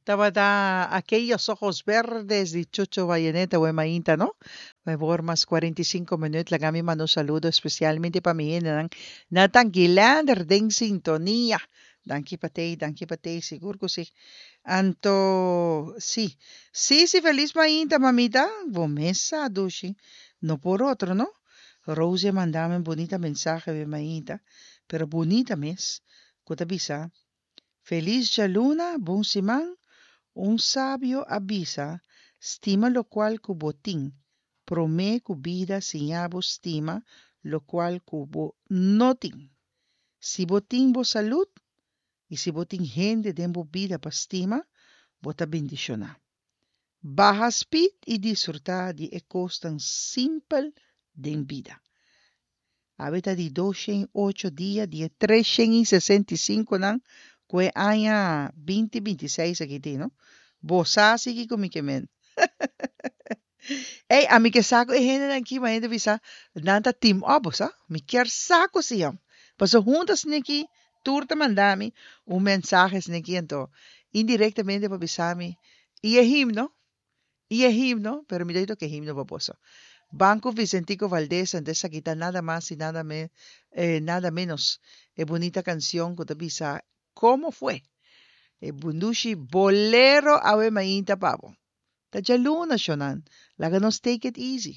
Tabata Aquellos Ojos Verdes di Chucho Valleneta we mainta, no? Awor mas 45 minuut, laga mi manda un saludo especialmente pa mi hendenan na Tankilander den sintonia. Danki pa tei, danki pa tei, sigur ku si. Anto, si. Si, si, felis mainta, mamita. Bo mes sa, dushi. No por otro, no? Rose a manda mi un bunita mensahe we mainta, pero bunita mes, ku ta bisa, Felis djaluna, bon siman, un sabio a bisa, stima lokual ku bo tin, promé ku bida siña bo stima lokual ku bo no tin. Si bo tin bo salud i si bo tin hende den bo bida pa stima, bo ta bendishoná. Baha speed i disfrutá di e kosnan simpel den bida. Awe ta di 208 dia di e 365 nan ku e aña 2026 aki tin, no? Bo sa si kiko mi ke men. Ey, ami ke sa ku e hendenan aki, ma hende bisa nan ta team up, bo sa? Mi kier sa ku si yam. Pasobra huntu asina aki tur ta manda mi un mensahe asina aki, anto indirectamente pa bisa mi, i e himno, i e himno, pero mi ta toca e himno pa boso. Banco Vicentico Valdez, anto esaki ta nada mas i nada me, nada menos e bunita cancion cu ta bisa Como fue? E bundushi bolero awe mainta pa bo. Ta djaluna, shonnan. Laga nos take it easy.